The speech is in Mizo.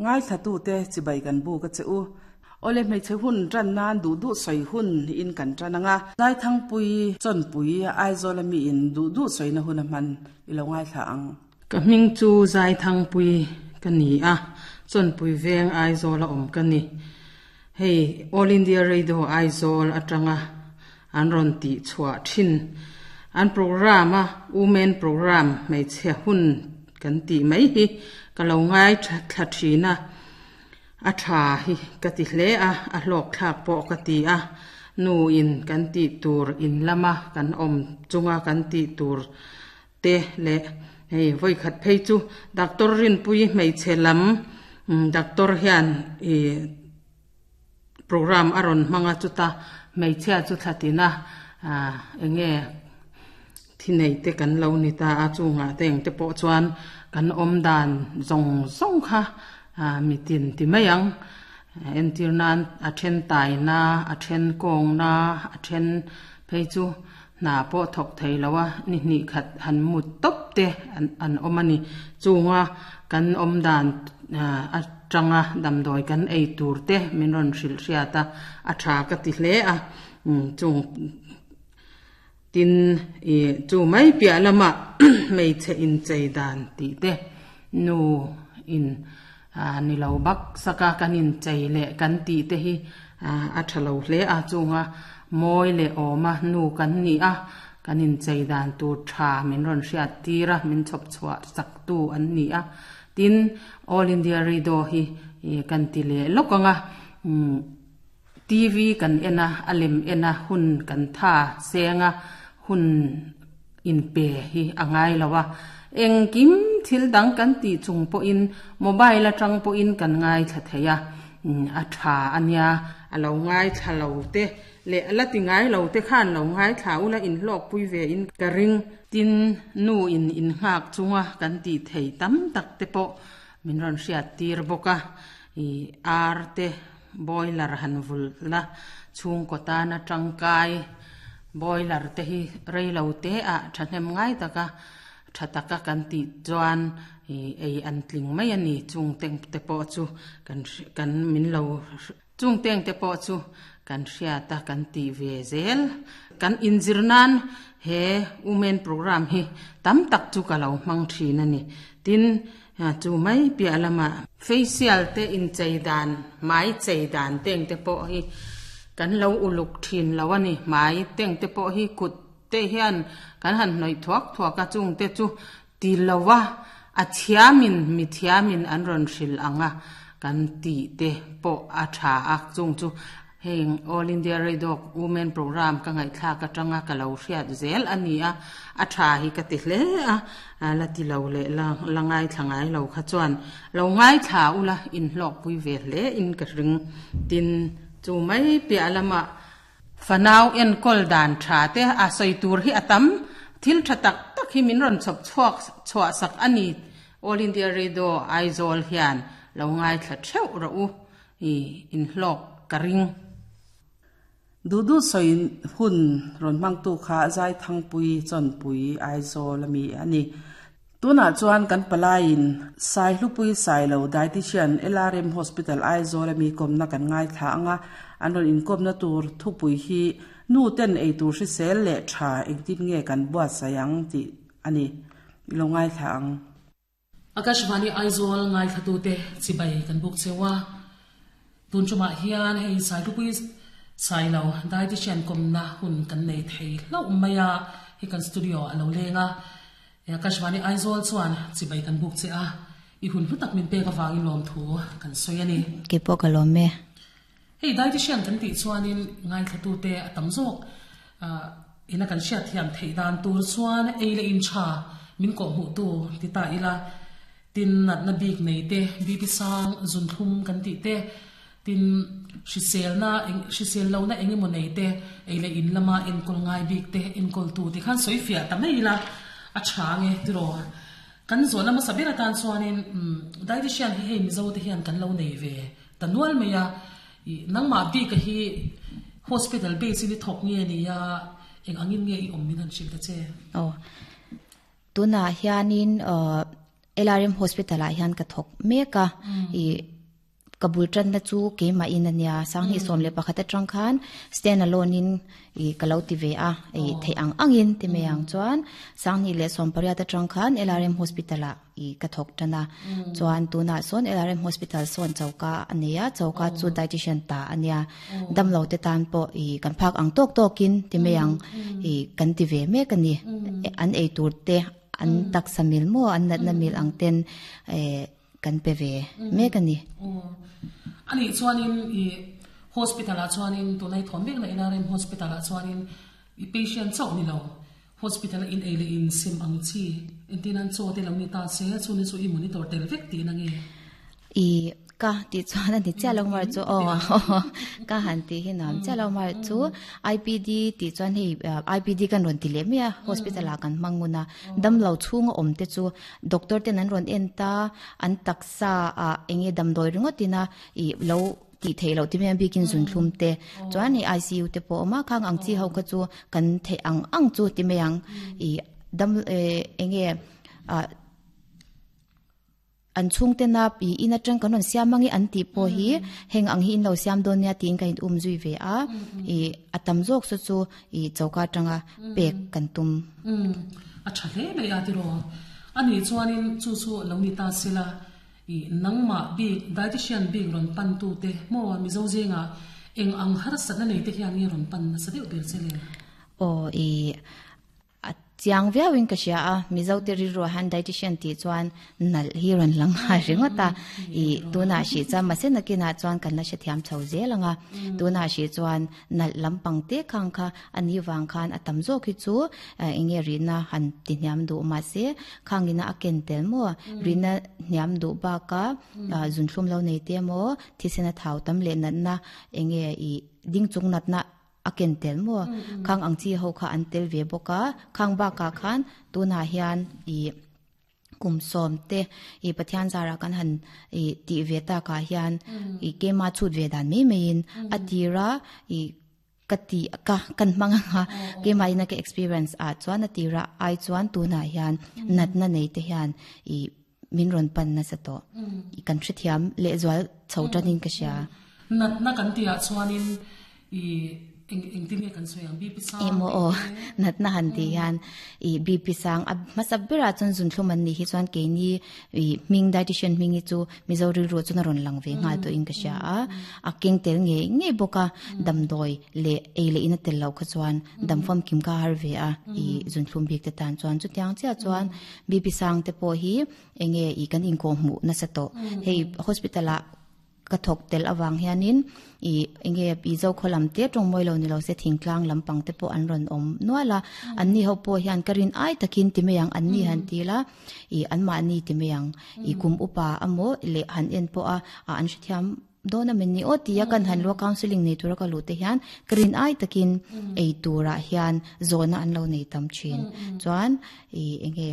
Ngaithlatute chibai kan buk a che u. Awle hmeichhe hun tan nan duh duh sawi hun in kan tan ang a. Zaithangpui, Chawnpui, Aizawl a mi in duh duh sawina hun a hman i lo ngaithla ang. Ka hming chu Zaithangpui ka ni a, Chawnpui veng Aizawl a awm ka ni. Hei All India Radio Aizawl atanga an rawn tih chhuah thin. An programme a Women Programme hmeichhe hun kan tih mai hi ka lo ngai thla thin a, a tha hi ka ti hle a, a hlawk thlak pawh ka ti a, nu in kan tih tur in lama kan awm chunga kan tih tur te leh hei vawikhat phei chu Doctor Rinpuii hmeichhe lam doctor hian ih Programme a rawn hmang a chuta hmeichhia chu thla tina ah eng nge thi nei te kan lo ni ta a chungah te eng te pawh chuan kan awm dan zawng zawng kha ah mitin ti mai ang entir nan a then taina a then kawngna a then phei chu hna pawh thawk thei lo a ni hnih khat han mut tawp te an an awm a ni chunga kan awm dan ah atanga damdawi kan ei tur te min rawn hrilh hriat a a tha ka ti hle a umm chung tin ih chu mai piah lamah hmeichhe inchei dan tih te nu in ah ni lo bak saka kan inchei leh kan tih te hi ah a tha lo hle a chunga mawi leh awma nu kan ni a kan inchei dan tur tha min rawn hriat tir a min chhawp chhuah chak tu an ni a tin All India Radio hi ih kan ti leh lawk ang a umm T_V kan en a a lem en a hun kan tha seng a hun inpe hi a ngai lo a, engkim thil dang kan tih chung pawhin mobile atang pawhin kan ngaithla thei a, a tha a nia. A lo ngaithla lo te leh a la ti ngai lo te khan lo ngaithla ula inhlawkpui ve in ka ring. Tin, nu in innghak chunga kan tih thei tam tak te pawh min rawn hriat tir bawk a, ih ar te Boiler han vulh la, chhungkaw tana tangkai boiler te hi rei lo te ah thahnem ngai taka tha taka kan tih chuan ih ei an tling mai a ni. Chung teng te pawh chu kan kan min lo chung teng te pawh chu kan hriat a kan tih ve zel. Kan inzir nan he women programme hi tam tak chu ka lo hmang thin a ni. Tin, Chu mai piah lamah facial te inchei dan, hmai chei dan te engte pawh hi kan lo uluk thin lo a ni. Hmai te engte pawh hi kut te hian kan han hnawih thuak thuak a, chungte chu ti lo a, a thiamin mi thiamin an rawn hrilh ang a, kan tih te pawh a tha a, chung chu Heng All India Radio Women Programme ka ngaihthlak atanga ka lo hriat zel a ni a, a tha hi ka ti hle a, la ti lo leh la la ngaithla ngai lo kha chuan lo ngaithla ula inhlawkpui ve hle in ka ring. Tin, chu mai piah lamah fanau enkawl dan tha te a sawi tur hi a tam, thil tha tak tak hi min rawn chhawp chhuak chhuah sak a ni All India Radio Aizawl hian lo ngaithla theuh rawh u. I inhlawk ka ring. Duhduh sawi hun rawn hmangtu kha Zaithangpui Chawnpui Aizawl a mi a ni. Tunah chuan kan palaiin Saihlupui Sailo Dietitian LRM Hospital Aizawl a mi kawmna kan ngaithla ang a, an rawn inkawmna tur thupui hi Nu ten eitur hrisel leh tha engtin nge kan buatsaih ang tih a ni. I lo ngaithla ang. Akashvani Aizawl ngaithlatute chibai kan buk cheu a, tun tumah hian hei Sailupui Sailo Dietitian kawmna hun kan nei thei hlauh mai a, hei kan studio a lo leng a, Akashvani Aizawl chuan chibai kan buk che a, i hun hlu tak min pek avangin lawmthu kan sawi a ni. Keipawh ka lawm e. Hei dietitian kan tih chuanin ngaithlatute a tam zawk ina kan hriatthiam theih dan tur chuan ei leh in tha min kawhhmuhtu ti ta ila, tin natna bik nei te, BP sang, zunthlum kan tih te, tin hriselna hrisel lohna eng emaw nei te, ei leh in lama enkawl ngai bik te enkawltu ti khan sawi fiah ta mai ila a tha nge tiraw. Kan zawhna hmasa ber atan chuanin dietitian hi hei Mizo te hian kan lo nei ve Ta nual mai a, i nangmah bik a hi hospital base in i thawk nge ni a, eng angin nge i awm min han hrilh ta che? Aw, tunah hianin LRM hospital ah hian ka thawk mek a, i Ka bul tanna chu keimah in ania 2011 atang khan stand alone in i ka lo ti ve a i theih ang angin ti mai ang chuan 2018 atang khan LRM Hospital ah i ka thawk tan a chuan tunah sawn LRM Hospital sawn choka a nei a choka chu dietitian ta ania damlo te tan pawh i kan phak ang tawk tawkin ti mai ang i kan ti ve mek ani an ei tur te an taksa mil maw an natna mil ang ten eh kan pe ve mek a ni. Aw. Anih chuanin i hospital ah chuanin tunah i thawm vekna LRM hospital ah chuanin i patient chauh ni lo hospital a in ei leh in sim ang chi entir nan chaw te lo ni ta se chuni chu i monitor tel vek tihna nge? I ka tih chuan a ni chiah lo mar chu aw ka han tih hi nuam chiah lo mar chu IPD tih chuan hei IPD kan rawn ti leh mai a hospital ah kan hmang ngun a damlo chhunga awm te chu Doctor ten an rawn en ta, an taksa ah enge damdawi ringawt ina ih lo tih theih loh ti mai ang bikin zunthlum te chuan hei ICU te pawh a awm a, khang ang chi ho kha chu kan theih ang ang chu ti mai ang ih dam eh enge ah an chhungtena ih in atang kan rawn siam ange an tih pawh hi heng ang hi in lo siam dawn nia tiin ka in um zui ve a ih a tam zawk saw chu ih choka atanga pek kan tum. Umm, a tha hle mai a tiraw. A nih chuanin chu chu lo ni ta sela, ih nangmah bik dietitian bik rawn pan tu te maw Mizo zingah eng ang harsatna nei te hian nge rawn pan nasa deuh ber che le? Aw, ih a chiang viauin ka hria a, Mizo te rilruah hian dietitian tih chuan nalh hi rawn lang nghal ringawt a, ih tunah hrih chuan mahse nakinah chuan kan la hrethiam chho zel ang a, tunah hrih chuan nalh lampang te khang kha a ni vang khan a tam zawk hi chu eng nge rihna han ti hniam duh mahse khangina a ken tel maw rihna hniam duh baka zunthlum lo nei te maw thisen a thau tam leh natna eng nge ih ding chung natna a ken tel maw khang ang chi ho kha an tel ve bawk a khang bakah khan tunah hian ih Kum sawm te i Pathian zarah kan han i tih ve takah hian i keima chhut ve dan mai maiin a tira i ka ti ka kan hmang anga keimah ina ka experience ah chuan a tira ai chuan tunah hian natna nei te hian i min rawn pan nasa tawh i kan hrethiam lehzual chho tanin ka hria. Natna kan tihah chuanin I eng engtin nge kan sawi ang BP sang Emaw aw natna han tih hian i BP sang a hmasa berah chuan zunthlum an nih hi chuan keini i hming dietitian hming hi chu Mizo rilru chuan a rawn lang ve nghal tawhin ka hria a a keng tel ngei ngei bawk a damdawi leh ei leh in a tel loh kha chuan dam famkim kha a har ve a i zunthlum bik te tan chuan chutiang chiah chuan BP sang te pawh hi enge i kan inkawhhmuh nasa tawh hei hospital ah Ka thawk tel avang hianin i enge i Zokhaw lam te tawng mawi lo ni lo se thingtlang lampang te pawh an rawn awm nual a, anni ho pawh hian ka rin ai takin ti mai ang anni han til a, i anmahni ti mai ang i kum upa amaw leh han en pawh a an hrethiam dawn a min ni aw tia kan han lua counselling nei tura ka luh te hian ka rin ai takin ei turah hian zawhna an lo nei tam thin chuan i enge.